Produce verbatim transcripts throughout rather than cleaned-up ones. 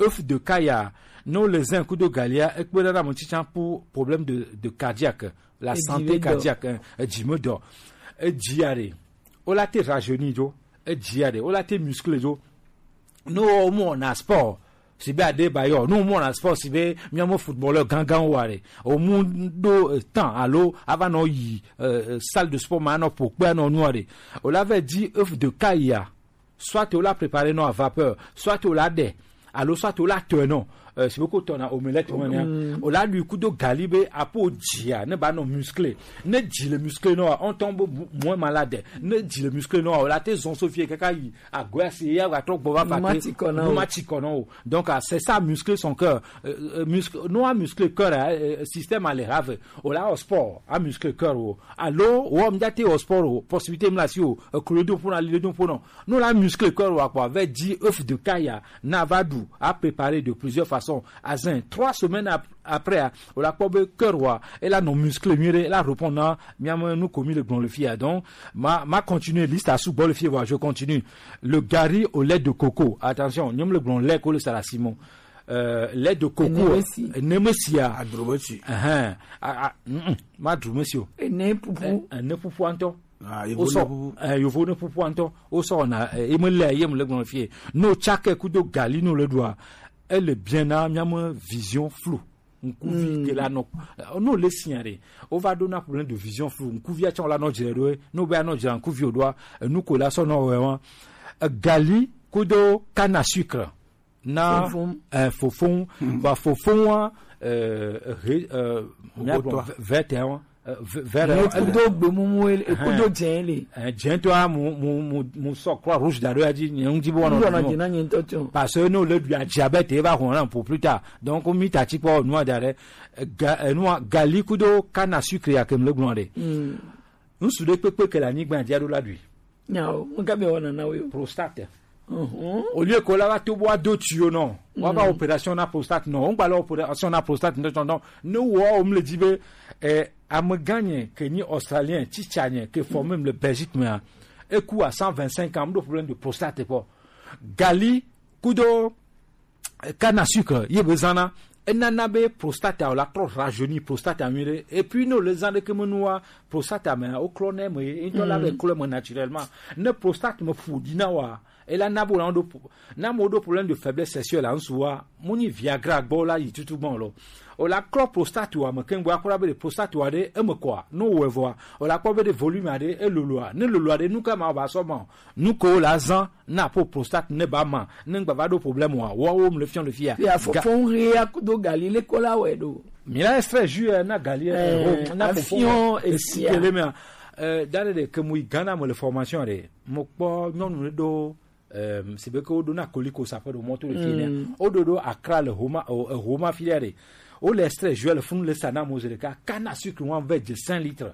Œuf de Kaya, non, les uns coups de galia, et que dans mon tichan pour problème de, de cardiaque, la santé cardiaque, hein, et Jimmy Dor. Et Diaré, on l'a été rajeuni, jo, et Diaré, on l'a été musclé, jo. Nous, au moins, on a sport. Si bien des bailleurs, nous, au moins, on a sport, si bien, miam footballeur, gangan, ou allez. Au monde, euh, temps, allô, avant, non, y, euh, euh, salle de sport, maintenant, pour quoi, non, nous, allez. On l'avait dit, œuf de Kaya. Soit o la préparer non à vapeur, soit o la dé, alors soit o la teunon. Euh, c'est beaucoup ton omelette, hein. O la lui coup de galibé à peau dia, ne ba non musclé, ne dit le musclé non, on tombe moins malade, ne dit le musclé non, o la te zon sofié kaka yi, à gouer si ya va trop bon va faté, matikono. Donc, ah, c'est ça, muscler son cœur. Euh, euh, muscle, non, à muscler cœur, hein, euh, système à les rave. O la au sport, à muscler cœur, oh. Allô, ou on au sport, oh, possibilité, me la si, oh, euh, que le don pour aller, le don pour non. Nous la muscle corps wa quoi, avec dix œufs de Kaya, Navadou, a préparé de plusieurs façons. Azin, trois semaines ap- après, hein, on la cobe cœur wa, et là non muscle mieux, et là répondant, miam nous commis le grand le fier. Donc, ma, ma continué liste à sous bon le fier, voilà, je continue. Le gari au lait de coco. Attention, nous le grand lait que le salasimon. Euh, lait de coco. Nemesi. Nemesia. Adrobesi. Uh-huh. Ah, ah, mm, mm. Ma drumesio. Ene pupu. Eh, eh, ne pupu anto. Ah, yovo ne pupu. Eh, yovo ne pupu anto. O so na, eh, e me le, ye me le gbɔn fie. No chake kudo gali no le doa. Elle est bien na, miam vision floue. Nkuvi ke la no. Eh, no le signare. O va do na problème de vision floue. Nkuvi a chan la no jere do. No be a no jere nkuvi o doa. Eh, nu ko la so no we wan. Eh, gali kudo canne à sucre. Na, eh, fofon. Ba fofon wa, eh, re- eh, verte, hein, eh, ve- vert, eh, kudo gbemumu ele, kudo jɛn ele. Eh, jɛn to a mu mu mu mu sɔ croix rouge da do ya di, nyɛ ŋdi bo wana. Ŋdɔ na di na nyɛ ŋtɔ tiɔ. Parce que no le du a diabète e va hɔn na pour plus tard. Donc mi ta ti kpɔ nu a da rɛ, eh, ga- eh, nu a gali kudo canne à sucre ya ke mu le gblɔ de. Ŋsu ɖe kpekpe ke le anyigba dzi aɖo la ɖui. Nyawo, ŋka be wɔna na wo yo. Prostate. Au lieu que la va to bo ado tuyau non. Wa va opération na prostate non. On va la opération na prostate non non. Ne wo o mle di be, eh, ame gã nye ke nyi australien, tsitsa nye ke formé le Belgique me. E ku à cent vingt-cinq ans, do problème de prostate quoi. Gali kudo canne à sucre ye be zana, enana be prostate a la trop rajeuni prostate a mire. Et puis no le zan de ke menua prostate a me o klɔ ne me, into la be klɔ me naturellement. Ne prostate me fu di na wa, e la na bo na do po- na mo do problème de faiblesse sexuelle en soi. Moni Viagra gbo la yi tutu bon lo. O la klɔ prostate wa me kengbo akora be de prostate wa de e me quoi. No we voa. O la kpɔ be de volume a de e lolo a. Ne lolo a de nu ka ma ba so bon. Nu ko la zan na po prostate ne ba ma, ne ngba va do problème wa, wa wo mle fion le fia. Ya fo Ga- fo ri ya kudo gali le kola we do. Mi la extrait jus, eh, na gali, eh, eh, ro- na fofo afion e esikele me. Eh, dare de ke mu Ghana mo le formation de. Mo kpɔ nyɔnu ɖe do, eh, si be ke wo do na koliko sa pe do moto le fie ne. O do do Accra le Homa, o, eh, Homa filière. O le extrait jus le fun le sa na mo zere ka canne à sucre wan ve de cinq litres.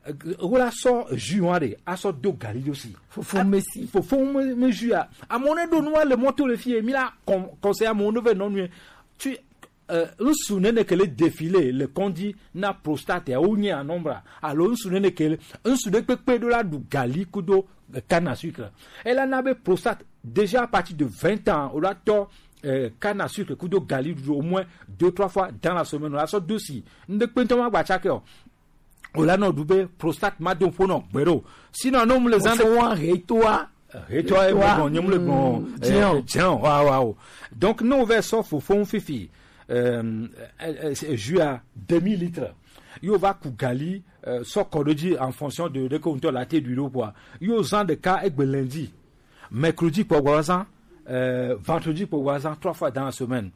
Eh, o la sɔ jus wan de, a sɔ do gali do si. Fofo me si. Fofo me, me jus a. A mo ne do nu le moto le fie, mi la con- conseil a mo ne ve non nu. Tu, eh, ŋsu nene ke le défilé le kondi na prostate a o nye a nombre. Alors ŋsu nene ke le, ŋsu de kpekpe do la du gali kudo, eh, canne à sucre. Elle en avait prostate déjà à partir de vingt ans. On l'a tort, eh, canne à sucre kudo gali du au moins deux trois fois dans la semaine. On l'a sort dosi. Nde kpentoma gba chake o. O la no du be prostate ma don po no gbero. Sinon no mu le zan de fo wan retoa. Retoa e mo bon, nyem le bon. Tiens. Tiens, wa wa o. Donc no ve so fofo fifi. Euh, euh, euh, jus à demi litre. Yo va ku gali, euh, so kodoji en fonction de de ko la te du quoi. Yo zan de ka egbe lundi. Mercredi pour voisin, euh, vendredi pour voisin, trois fois dans la semaine.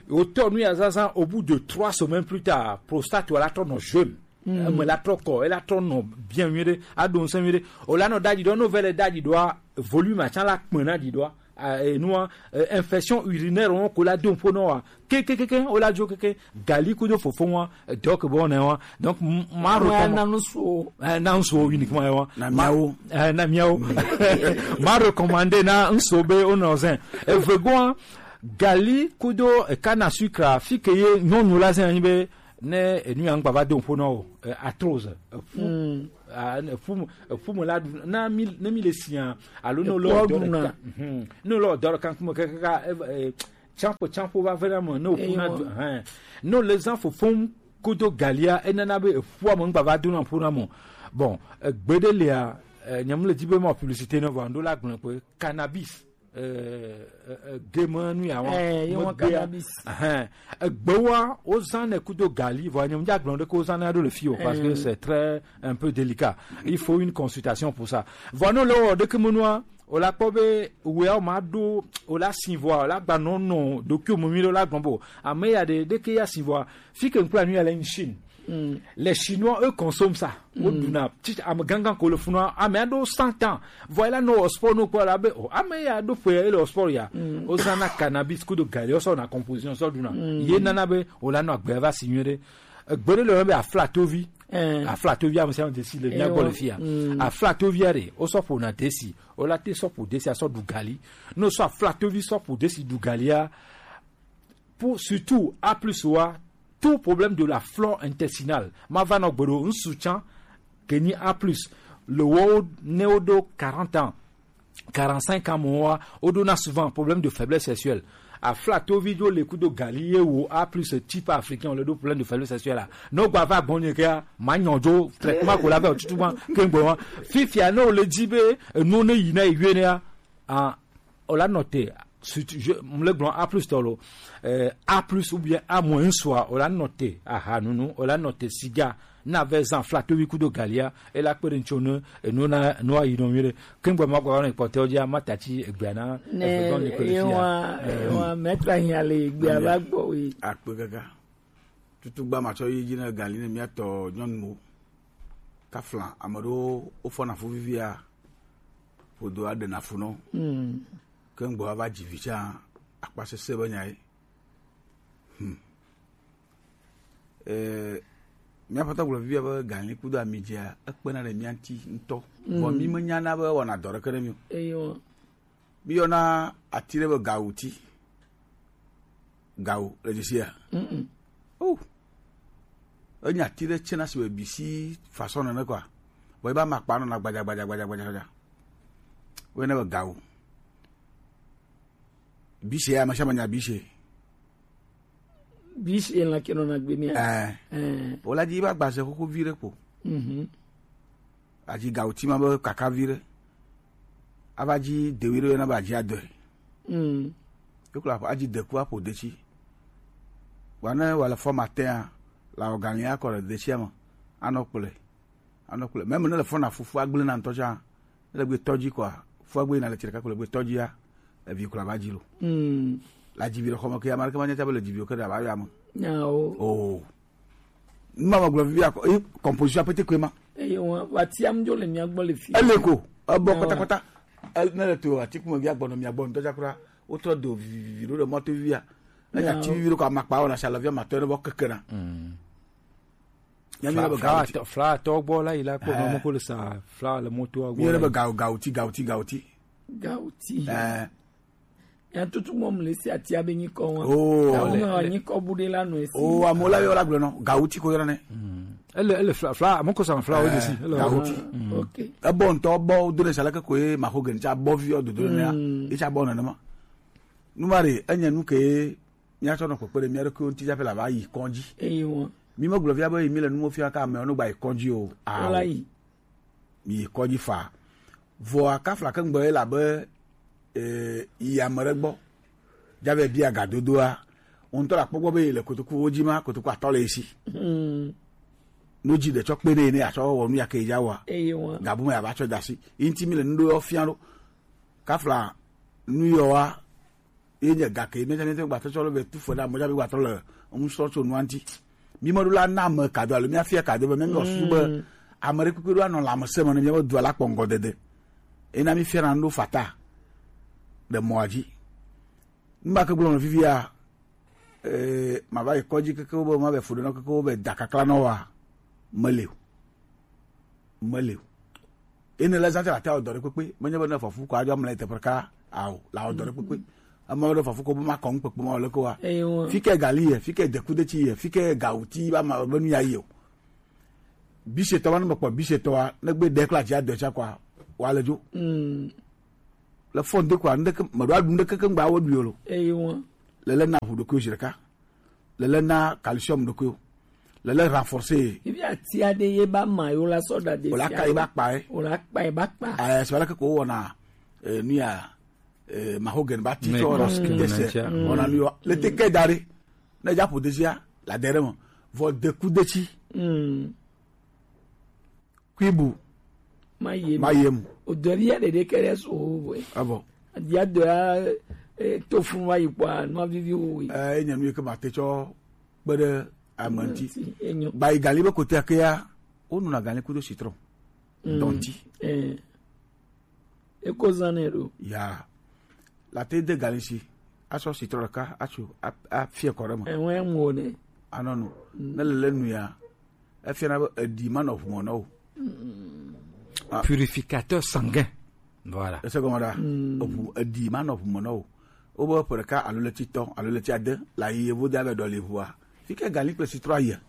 Au tournoi à Zazan, au bout de trois semaines plus tard, prostate ou la tourne jeune. Mm. Euh, me la trop corps, elle la tourne bien mieux, a donc c'est mieux. O la no daji do no vele daji do volume a la kpena di do. Euh, et nous, euh, infection urinaire on ko la don po no. Ke ke ke ke o la jo ke ke gali kudo fofo wa, donc bon ne wa. Donc m- ma Ouais, recommande na nous so. Eh, na ŋsu uniquement wa. Na miawo. Eh, na miawo. Ma recommandé na ŋsu be o no zen. E vegoa gali kudo, eh, canne à sucre a fi ke ye nyɔnu la zen be ne enu ya ŋgba va do po no, eh, arthrose. Eh, fu- ah, ne fu- eh, fu me la du- na mi ne mi le sia. Alo no lo do na. No lo do kan kuma ka ka, eh, eh, tsampo tsampo va vena me ne wòƒuna du hɛn. Ne wòle zã fofom kudo galia, enana be eƒua me ŋgba va dona ƒona me. Bon, egbe ɖe lia, eh, nyem le di be ma publicité ne vɔ ando la gblɔ kpe cannabis. Eh, eh, eh, game nu ya wa. Eh, ye wa cannabis. Hɛn, egbewa wozã ne kudo gali, vɔ nyem dza gblɔ ɖe ke wozã ne ɖo le fi o, parce que c'est très un peu délicat. Il faut une consultation pour ça. Vɔ ne le wɔ ɖeke menua, o la kpɔ be wea o ma ɖo, o la si vɔa, o la gba nɔ nɔ ɖokuiwo me nyuie ɖe, o la gblɔ bo ame ya ɖe ɖeke ya si vɔa, fi ke ŋkpla nu ya le Chine. Les Chinois, eux, consomment ça. Woɖuna, tsi ame gangan ko le funua, ame aɖewo cent ans. Vɔ ela nɔ wɔ sport no kpɔ la be, o, ame ya ɖo ƒe ele wɔ sport ya. Wozãna cannabis kudo gali, wosɔ na composition sɔ ɖuna. Ye nana be o la nɔ agbe va si nyuie ɖe. Egbe ɖe le be aflatovi. Aflatovi ame sia ame desi le mía gbɔ le fia. Aflatovia ɖe, wosɔ ƒona desi. Wola te sɔ ƒo desi asɔ ɖu gali. Ne wosɔ aflatovi sɔ ƒo desi ɖu galia, pour surtout A plus wa, tout problème de la flore intestinale. Ma va nɔ gbe ɖo ŋsu tsã, ke nyi A plus, le wo ne wo ɖo quarante ans, quarante-cinq ans mo wa, wo ɖo na souvent problème de faiblesse sexuelle. Aflatovi dzo le kudo gali ye wo A plus type africain le ɖo problème de faiblesse sexuelle la. No gba va gbɔnye ke ma nyɔ dzo traitement ko la va tutu ma ke gbɔ wa. Fifia ne wo le di be enu ne yi na yi ne ya. Ah, o la note, surtout, je, m le gblɔ A plus tɔ lo, eh, A plus ou bien A moins wa, o la note, aha, nunu, o la note siga, na ve zan flato wi kudo galia, e la kpe ɖe ŋtsi ne, enu na, nu ayi nɔ mi ɖe. Ke ŋgbe ma gba ne kpɔtɛ o dzi, ma ta tsi egbea na, ne, eve gɔn ni ko le fia. Wa, eh, wa, maître ahia le egbea va gbɔ wi. Akpe gaga. Tutugba matsɔ yi dzi ne gali ne mía tɔ nyɔnuwo. Kafla, ame ɖewo wofɔna fu vivia, ƒodo aɖena fu nɔ. Ke ŋgbɔ ava dzi vi tsã, akpa sesẽ be nya ye. Hmm. Eh, mía ƒetɔ gblɔ vivia be gali kudo ami dzea, ekpena ɖe mía ŋuti ŋutɔ. Vɔ mí menyana be ewɔna dɔ ɖeke ɖe mí o. Eyo. Miyɔna ati ɖe be gawuti. Gawu le dzesi ya. Mm-mm. Oh. Enye ati ɖe tsena si be bisi façon nene kɔa. Vɔ eba ma kpa nɔna gbadza, gbadza, gbadza, gbadza, gbadza. Woyɔnɛ be gawu. Bise ya, ame sia ame nya bise. Bise la ke nɔna gbe mía. Eh. Eh. Wola dzi va gbaze xoxo vi ɖe kpo. Mhm. Adzi gawuti ma be kaka vi ɖe. Ava dzi dewi ɖe yɔna be adzi adɔe. Mm. Yokla adzi deku aƒo detsi. Wa ne wale fɔ matin a, la ogali akɔ le detsia me. Anɔ kple. Anɔ kple. Même ne le fɔ na fufu agble na ŋutɔ tsã. Ne le gbe tɔdzi kɔa, fɔ agbe na le tsireka kple gbe tɔdzia. Evi kura va dzi lo. Mm. La dzi vi ɖe xɔme ke ame ɖeke ma nya tsa be le dzi vi o ke ɖe ava yɔ ame. Nyawo. Oh. Numa ma gblɔ vivia kɔ, eh, composition apete koe ma. Eye wa, wa tiam dzo le mía gbɔ le fi. Ele ko, ebɔ kɔtakɔta. El-, ne le to atiku me via gbɔnɔ mía gbɔ ŋutɔ tsakura. Wotrɔ do vivivi ɖo le mɔto vivia. Enya ti vivi ɖo ko amakpa wɔna sa le via matɔ ne vɔ kekena. Mm. Nya mi le be fla, gawo ti. Fla tɔ gbɔ la yi la kpɔ nɔ mo ko le sa fla le moto a gbɔ. Mi le be gawo, gawo ti, gawo ti, gawo ti. Gawo ti. Eh. Ya tutu mɔ mle si ati abe nyikɔ wa. Oh. Gawo me wa nyikɔ bu ɖe la nɔ esi. Oh, amewo la yɔ la gblɔ nɔ. Gawo ti ko yɔ ne. Mm. Ele, ele fla, fla, mo ko sa fla o de si. Ele gawo ti. Mm. Ok. Ebɔ ŋutɔ bɔ do ne sa le ke ko ye ma ko gen tsa bɔ vi o dodo ne ya. Mm. E tsa bɔ ne ma. Numa ɖe, enye nu ke míatsɔ nɔ kpekpe ɖe mía ɖokuiwo ŋuti tsaƒe la va yi kɔdzi. Eyi wɔn. Mi megblɔ fia be yi mi le nuwo fia ka amewo no gba yi kɔdzi o. Ao. Wala yi. Mi yi kɔdzi fa. Vɔa kafla ke ŋgbe ye la be, eh, yi ame ɖe gbɔ. Dza be bia gadodoa. Wo ŋutɔ la kpɔ gbɔ be yi le kotoku wo dzi ma, kotoku atɔ le esi. Hmm. No dzi ɖe tsɔ kpe ne ne atsɔ wɔ nu ya ke ya wa. Eyi wɔn. Gabu me ya va tsɔ da si. Yi ŋuti mi le nu ɖo fia ɖo. Kafla nu yɔ wa. Ye nye gake, míatsã míate ŋu gbatrɔ tsɔ le be tu fe ɖe ame tsã be gbatrɔ le ŋusɔ tso nua ŋuti. Mi meɖo la na ame kado alo míafia kado be míaƒe susu be ame ɖe kpekpe ɖo anɔ lãmesẽ me ne míaƒe dua la kpɔ ŋgɔdede. Ena mífiana nu ɖo fata ɖe mɔa dzi. Nu ma ke gblɔm le fifia, eh, mava yi kɔdzi keke wo be mava yi fu ɖe nɔ keke wo be da kakla nɔ wa, meli o. Meli o. Ene le zã te la te awɔ dɔ ɖe kpekpe. Menye be ne fɔfu ko adzɔ mlɛ teƒe ɖeka ao, la wɔ dɔ ɖe kpekpe. Ame ɖe fɔfu ko be ma kɔ ŋu kpekpe ma wɔ leke wa. Eyi wɔ. Fi ke gali ye, fi ke dekudetsi ye, fi ke gawuti ba ma be nu ya yi o. Bisetɔ wa ne mekpɔ bisetɔ wa, ne gbe ɖe kple adzi adɔ tsa kɔa, wa le dzo. Mm. Le fɔn de kɔa, ŋɖeke, meɖo aɖu ŋɖeke ke ŋgba wo ɖui o lo. Eyi wɔ. Lele na ʋu ɖokuiwò zi ɖeka. Lele na calcium ɖokuiwò. Lele renforcer. Ibi ati aɖe ye ba ma yo la sɔ da de. O la ka ye ba kpa ye. O la kpa ye ba kpa. Eh, c'est vrai que ko wɔna, eh, nu ya, eh, mahogany ba ti tɔ la. Dese. Wɔna nu yo. Le te ke da ɖe. Ne dza ƒo desia, la de ɖe me. Vɔ de ku detsi. Kuibu. Ma yem. Ma yem. O dɔ ya ɖeɖe ke ɖe so o vɔe. Avɔ. Dia dɔ ya, eh, to fun wa yi kpɔa, nua vivi o we. Eh, enye nu yi ke ma te tsɔ kpe ɖe ame ŋuti. Enyo. Ba yi gali be kote ke ya, wonuna gali kudo citron. Dɔnti. Eh. Eko zan nɛ ɖo. Ya. La te de gali si. Asɔ citron ɖeka, atsu, a, a fie kɔ ɖe me. Enwe mu o ne. Anɔ nu. Ne le le nu ya. Efiana be eɖi manɔ ʋu me na wo. Ah. Purificateur sanguin. Voilà. Ese gɔme ɖa. Eʋu, eɖi manɔ ʋu me na wo. Wobe ƒe ɖeka alo ɣleti etɔ̃ alo ɣleti ade la yi yevu de abe ɖɔli ʋua. Fi ke gali kple sitro ayia.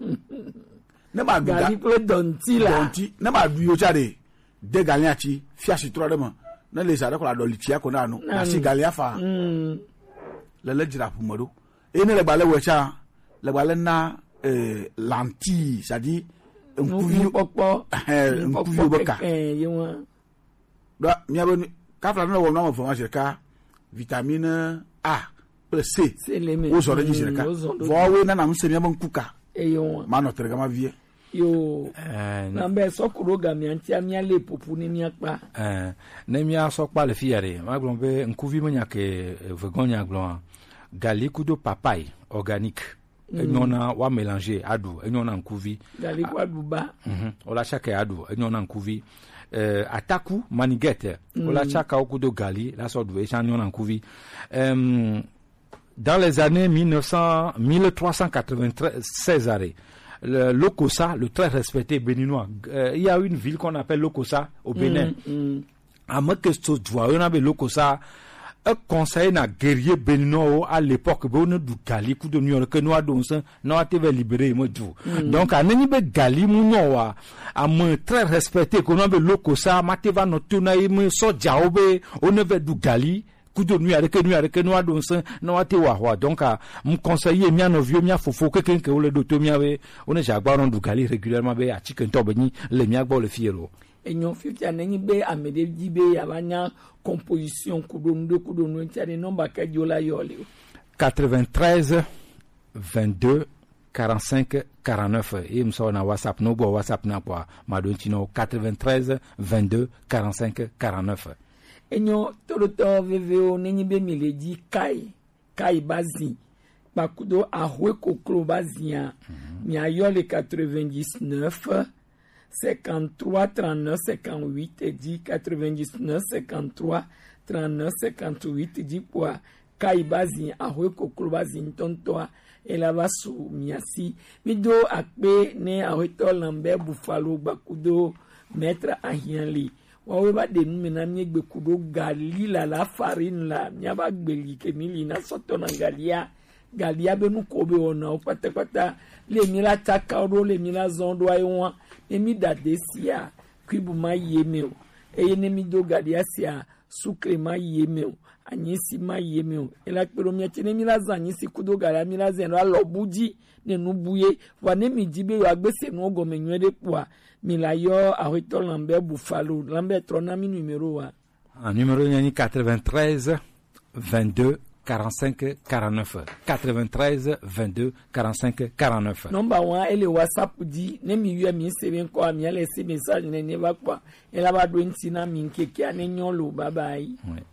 Ne ma ɖu ga- Gali kple dɔnti la. Dɔnti. Ne ma ɖu yo tsa ɖe. De gali atsi, fia sitro ɖe me. Ne le sa ɖe ko la ɖɔli tsia ko na nu. Na si gali afa. Le le dzra ƒu me ɖo. Eye ne le gbalẽ wɔe tsã, le gbalẽ na, eh, lentille, c'est-à-dire ŋkuvi, nukpɔkpɔ, eh, ŋkuviwo be ka. Keke, ye wa. Ɖo míabe nu, kafla ne wɔm na ame eve ma zi ɖeka, vitamine A kple C, wozɔ ɖe edzi zi ɖeka. Vɔ woe nana ŋusẽ míabe ŋku ka. Eye wa. Manɔ te ɖe gama vie. Yo. Eh, na be sɔ ku ɖo gamia ŋutia míalé ƒoƒu ne míakpa. Eh, ne míasɔ kpa le fi ya ɖe, magblɔ be ŋkuvi menya ke, eh, vegɔn nya gblɔa, gali kudo papaye organique. Enyo na wa mélanger aɖu, enyo na ŋkuvi. Gali ku aɖu ba. Mhm. Wola tsake aɖu, enyo na ŋkuvi. Eh, ataku, manigette, wola tsaka wo kudo gali, la sɔ ɖu, etsã enyo na ŋkuvi. Em, dans les années mille neuf cents, mille trois cent quatre-vingt-seize, arrêt, le Lokossa, le très respecté béninois, euh, il y a une ville qu'on appelle Lokossa au Bénin. Ame ke so dua yɔna be Lokossa, e conseiller na guerrier béninois à l'époque be ne du gali kudo nu ke no ado nse no ate ve libérer me du. Donc anenyi be gali mu no wa, ame très respecté ko no be Lokossa ma te va no to na ye me sojawo be o ne ve du gali kudo nu ya ɖeke, nu ya ɖeke, nu aɖo ŋusẽ, ne woate wɔ ahɔa. Donc, ah, m conseiller mía nɔviwo, mía fofo kekeŋ ke wole ɖo to mía be, wone dze agba nɔ ɖu gali régulièrement be atike ŋutɔ be nyi le mía gbɔ le fi ye lo. Enyo fifia ne nyi be ame ɖe di be yeava nya composition kudo nu ɖe kudo nu ŋutia ɖe, nɔmba ke dzi wola yɔ le o. Quatre-vingt-treize, vingt-deux, quarante-cinq, quarante-neuf. Ye m sɔ na WhatsApp, no gbɔ WhatsApp na kpɔa, ma ɖo ŋuti nɔ quatre-vingt-treize, vingt-deux, quarante-cinq, quarante-neuf. Enyo, toɖotɔ vevewo, nenyi be mi le dzi kai, kai ba zi, kpakudo ahwe koklo ba zia, mi ayɔ le quatre-vingt-dix-neuf, cinquante-trois, trente-neuf, cinquante-huit dzi, quatre-vingt-dix-neuf, cinquante-trois, trente-neuf, cinquante-huit dzi kpɔa, kai ba zi, ahwe koklo ba zi ŋutɔŋutɔa, ela va su mia si. Mi do akpe ne ahwetɔ Lambert Buffalo gbakudo maître Ahianli. Wawe va ɖe nu me na mi egbe kudo gali la, la farine la, mia va gbeli ke mi li na sɔtɔ na galia. Galia be nu ko be wɔna wo kpatakpata. Le mi la tsaka wo ɖo, le mi la zɔn ɖo ayi wa. Ne mi da de sia, kuibu ma ye me o. Eye ne mi do galia sia, sukle ma yi eme o, anyisi ma yi eme o. Ela kpe ɖo mía tsi ne mí la zã anyisi kudo galia, mí la zã ɖo alɔ bu dzi ne nu bu ye. Vɔa ne mi dzi be yewoagbe se nuwo gɔme nyuie ɖe kpɔa, mi la yɔ Aƒetɔ Lambert Buffalo. Lambert, trɔ na mí numéro wa. Ah, numéro nye nyi quatre-vingt-treize, vingt-deux, quarante-cinq, quarante-neuf. Quatre-vingt-treize, vingt-deux, quarante-cinq, quarante-neuf. Nɔmba wa ele WhatsApp dzi. Ne mi yɔe mi se be ŋkɔ, mi le se message ne ne va kpɔa, ela va ɖo ŋuti na mi ŋkekea ne nyɔ lo. Bye bye. Ouais.